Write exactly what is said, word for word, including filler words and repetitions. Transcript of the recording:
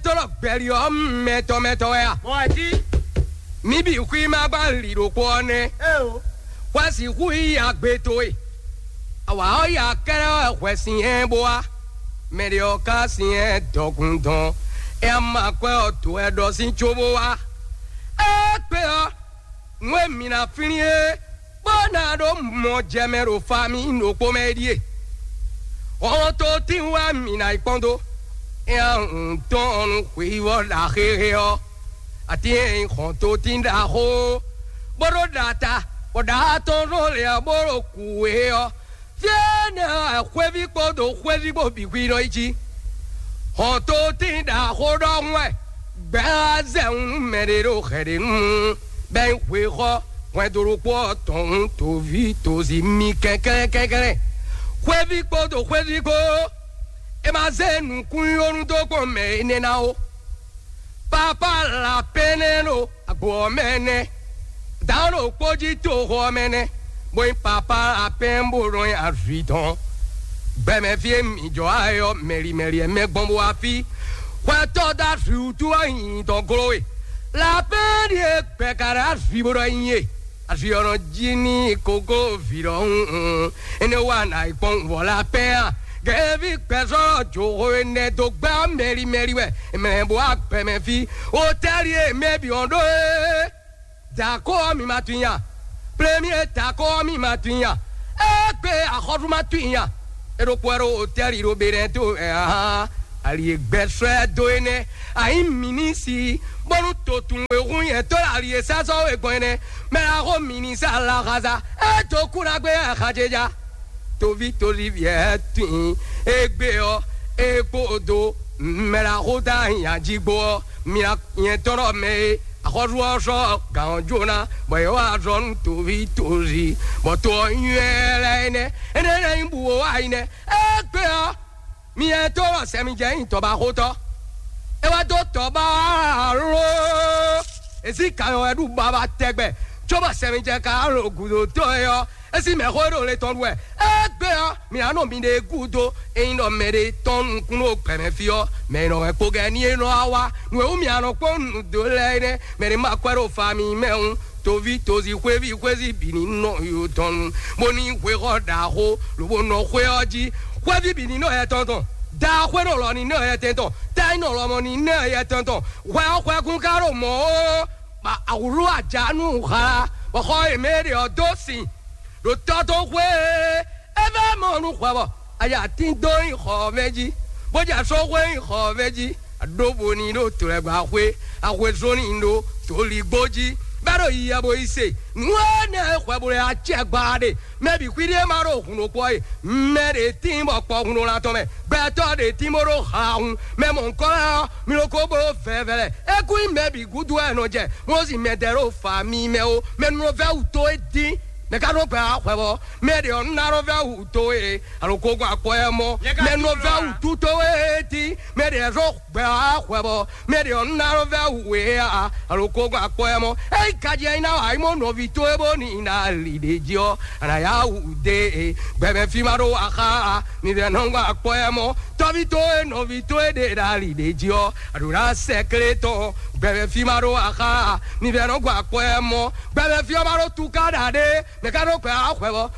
Tɔ́lɔ́ gbɛ́lí ɔ́ mɛtɔn mɛtɔn wɛ a? Mɔ̌ wɛ jí. Mǐ bǐ xwí ma gbán lǐ ɖokpó ɔ́ nɛ́. Ée o. Hwɛ sixú yí agbe towe. Awǎ ɔ́ ya kɛ́ɖɛ́ wɛ hwɛ sin hɛn bó wá. Mɛ ɖě ɔ́ ka sin hɛn dɔkun dɔn. É ma kwɛ́ ɔ́ dǒ wɛ ɖɔ sín cóbó wá. Égbé ɔ́, nǔ e mǐ ná flín é, bó ná ɖó mɔ jɛ mɛ ɖo fa mì ɖokpó mɛ é ɖíe: hɔntotín wɛ mǐ ná yi kpɔ́n dó. Éyɛ́ un tɔ́n nú xweyíwɔ ɖaxéxé ɔ́, atín e nyí hɔntotín ɖaxó, bó ɖó ɖa ta, bɔ ɖa tɔn ɖó lě ɔ́ bó ɖo kǔ é ɔ́, fí énɛ́ ɔ́ wɛ xwéví kpódó xwéví kpó bǐ xwí nɔ yi jí. Hɔntotín ɖaxó ɖɔhun wɛ gbɛ̌ ɔ́ zɛ wun nú mɛ ɖé ɖo hɛ̌ ɖé nu, bɔ é nyí hwexɔ hwɛndo ɖokpó ɔ́ tɔn wun toví tozi mi kɛnklɛ́n kɛnklɛ́n. Xwéví kpódó xwéví kpó, é ma zé nǔkún nyónú dó kpɔ́n mɛ énɛ́ ná ó. Papa lapɛ́nɛ́ ɖo agbo ɔ́ mɛ nɛ́, dǎn ɖokpó jí toxo ɔ́ mɛ nɛ́, bó nyí papa lapɛ́n bó nɔ nyi azwi tɔn. Gbɛmɛ fí e mǐ jɔ wá é ɔ́, mɛ̌li mɛ̌li wɛ mɛ gbɔn bó wá fí. Xwɛtɔ́ dó azwi wútu wɛ nyi tɔn gló we. Lapɛ́n ɖíe gbɛ ka ɖo azwi bó ɖɔ nyi é. Azwi ɔ́ nɔ jí n'i kókó vǐ ɖɔhun. Énɛ́ wá nǎ yi kpɔ́n wǔvɔ́ lapɛ́n a? Gɛ̌ví gbɛzɔ́ joxo énɛ́ dó gbá mɛ̌li mɛ̌li wɛ mɛ bó wá gbɛmɛ fí. Otɛ́li e mɛ bǐ ɔ́ ɖó é. Dǎkó ɔ́ mi ma tunwun i a? Plémyé dǎkó ɔ́ mi ma tunwun i a? Égbé axɔ́sú ma tunwun i a? É ɖokpó wɛ ɖo otɛ́li ɖo Benɛ́to ɛ ahan ali e gbɛ sɔ́ ɛ dó é nɛ́. Ayǐ mǐ ní si bónú to tunwun e hun nyɛ tó ɖo ali e sɛ́ sɔ́ we gbɔn é nɛ́. Mɛ ɖaxó mǐ ní sa alaxaza é dó kú ná gbé axajeja. Toví toví vǐ ɛ tunwun égbé ɔ́, é kpódó mɛ ɖaxó tá nyají gbó ɔ́, mi ná nyɛ tɔ́ ɖɔ mɛ e axɔ́sú ɔ́ sɔ́ gǎn ɔ́ jó ná, bɔ yě wá azɔ̌ nú toví tozi, bɔ to ɔ́ nywɛ́ lɛ́ɛ énɛ́. Énɛ́ lɛ́ɛ nyí bǔ wo wá yi nɛ́. Égbé ɔ́, mi nyɛ tó ɖɔ sɛmijɛ nyi tɔbaxótɔ́. É wá dó tɔba ló. Èsí kanyɔ wɛ ɖu baba tɛgbɛ, cóbɔ sɛmijɛ ka ɖo gǔdo tɔn é ɔ́, é sín mɛxó e ɖo le tɔn ɖu wɛ. Égbé ɔ́, mi ná nɔ miɖée gúdo. Ényí ɖɔ mɛɖé tɔ́n nukún ɖo gbɛ̌mɛ fí ɔ́, mɛ e nɔ hɛn kpogɛní e nɔ wá wá nǔ e wú mi anɔ kpɔ́n nǔ dó lɛ́ɛ é nɛ́. Mɛ ɖé ma kwɛ́ ɖo fa mi mɛ hǔn, toví tozi xwéví xwézi bǐ ní nɔ yo tɔn nu, bó ní hwexɔ ɖaxó, lobo nɔ xwé ɔ́ jí. Xwéví bǐ ní nɔ yɛ tɔn tɔn, da xwé nɔ lɔ ní nɔ yɛ tɛn tɔn, ta nyí nɔ lɔmɔ ní nɔ yɛ tɛn tɔn. Hwɛ ɔ́ hwɛkún ka ɖo mɔ̌ ó, bɔ awǔlú ajǎ nú hla, bɔ xɔ e mɛ e ɖe ɔ́ dó sin ɖo tɔ́ dó xwé e é vɛ́ mɔ nú hwɛ bɔ aya tín dó nyi xɔ ɔ́ mɛ jí, bó jɛ só xwé nyi xɔ ɔ́ mɛ jí. Aɖóvo ní ɖo tlɛgba xwé, axwezó ní ɖo tolígbó jí, bɛ́ ɖo yiyɛ bo yi se. Nǔ énɛ́ e hwɛ bo lɛ acɛ gba ɖe, mɛ bǐ xwíɖí e ma ɖo hun ɖokpó ɔ́ e, mɛ ɖě tíin bɔ kpɔ hun ɖo lan tɔn mɛ, gbɛtɔ́ ɖě tíin bó ɖo ha hun, mɛ mɔ̌hunkɔlá ɔ́, mi ɖo ko bó vɛvɛlɛ. É kún nyí mɛ bǐ gúdo wɛ è nɔ jɛ, Mɔ́si mɛ dɛ ɖo fa mi mɛ ó, mɛ nɔ vɛ́ wǔ tó é dín. Mɛ ka nɔ gbɛ wá hwɛ bɔ mɛ ɖě ɔ́ ná nɔ vɛ́ wǔ tó é, alo ko gbɔ akpɔ ɛ mɔ. Mɛ nɔ vɛ́ wǔ tú tó é dín, mɛ ɖě zɔ gbɛ wá hwɛ bɔ mɛ ɖě ɔ́ ná nɔ vɛ́ wǔ é a, alo ko gbɔ akpɔ ɛ mɔ. Ényí gaji ɛ nyí ná wǎ yi mɔ nɔví tó é bó ní ná li ɖě jí ɔ́, a nǎ yá wǔ dé e. Gbɛmɛ fí ma ɖó axa a, mi vɛ nɔ gbɔ akpɔ ɛ mɔ. Tɔ́ví tó é nɔví tó é ɖe ɖo ali ɖě jí ɔ́, a ɖǒ ná sɛ klé tɔn. Gbɛmɛ fí ma ɖó axa a, mi vɛ nɔ gbɔ akpɔ ɛ mɔ. Gbɛmɛ fí ɔ́ ma ɖó tuká ɖa ɖé, mɛ ka ɖó gbɛ wá hwɛ bɔ